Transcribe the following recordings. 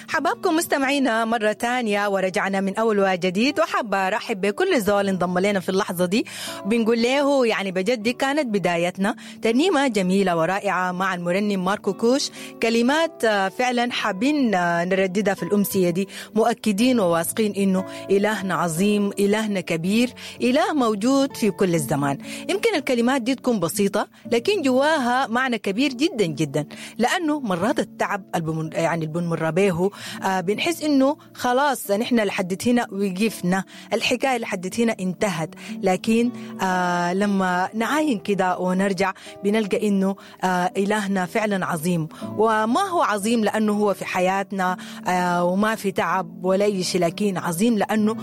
حبابكم مستمعينا مرة تانية، ورجعنا من أول وجديد، وحابة أرحب بكل زول انضم لنا في اللحظة دي. بنقول له يعني بجد دي كانت بدايتنا، ترنيمة جميلة ورائعة مع المرنم ماركو كوش، كلمات فعلا حابين نرددها في الأمسية دي، مؤكدين وواثقين إنه إلهنا عظيم، إلهنا كبير، إله موجود في كل الزمان. يمكن الكلمات دي تكون بسيطة لكن جواها معنى كبير جدا جدا، لأنه مرات التعب يعني اللي بنمر به بنحس إنه خلاص نحن لحد هنا وقفنا، الحكاية لحد هنا انتهت، لكن لما نعاين كده ونرجع بنلقى إنه إلهنا فعلا عظيم. وما هو عظيم لأنه هو في حياتنا وما في تعب ولا أي شيء، لكن عظيم لأنه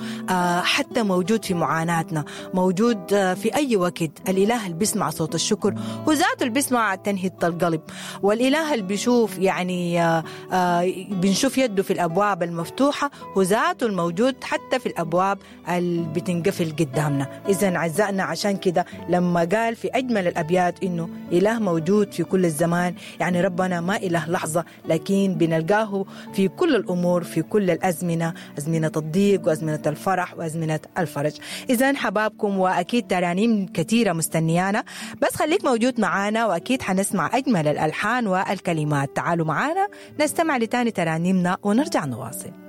حتى موجود في معاناتنا، موجود في أي وقت. الإله اللي بيسمع صوت الشكر هو ذاته اللي بيسمع تنهية القلب، والإله اللي بيشوف يعني بنشوف يده في الأبواب المفتوحة هو ذاته الموجود حتى في الأبواب اللي بتنقفل قدامنا. إذن عزائنا عشان كده لما قال في أجمل الأبيات إنه إله موجود في كل الزمان، يعني ربنا ما إله لحظة، لكن بنلقاه في كل الأمور، في كل الأزمنة، أزمنة الضيق وأزمنة الفرح وأزمنة الفرج. إذن حبابكم، وأكيد ترانيم كثيرة مستنيانا، بس خليك موجود معانا وأكيد حنسمع أجمل الألحان والكلمات. تعالوا معانا نستمع لتاني ترانيمنا ونرجع نواصل.